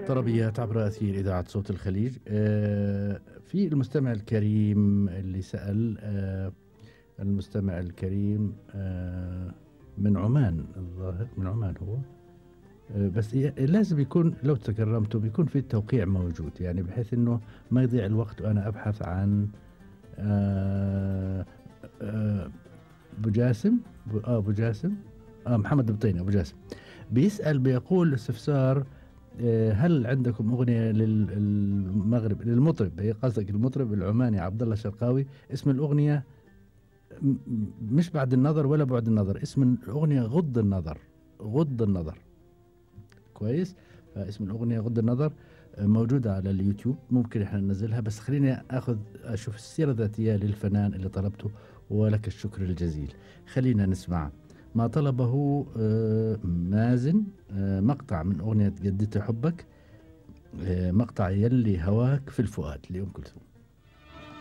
طربيات عبر أثير إذاعة صوت الخليج. في المستمع الكريم اللي سأل، المستمع الكريم من عمان، الظاهر من عمان هو. بس لازم يكون لو تكرمتوا بيكون في التوقيع موجود، يعني بحيث انه ما يضيع الوقت وانا ابحث عن ابو جاسم. ابو جاسم، محمد البطيني. ابو جاسم بيسأل، بيقول استفسار: هل عندكم أغنية للمغرب للمطرب، هي قصدك المطرب العماني عبد الله الشرقاوي، اسم الأغنية مش بعد النظر ولا بعد النظر، اسم الأغنية غض النظر. غض النظر، كويس. فاسم الأغنية غض النظر، موجودة على اليوتيوب، ممكن احنا ننزلها. بس خليني أشوف السيرة الذاتية للفنان اللي طلبته، ولك الشكر الجزيل. خلينا نسمع ما طلبه مازن، مقطع من أغنية جددت حبك، مقطع يلي هواك في الفؤاد لأم كلثوم.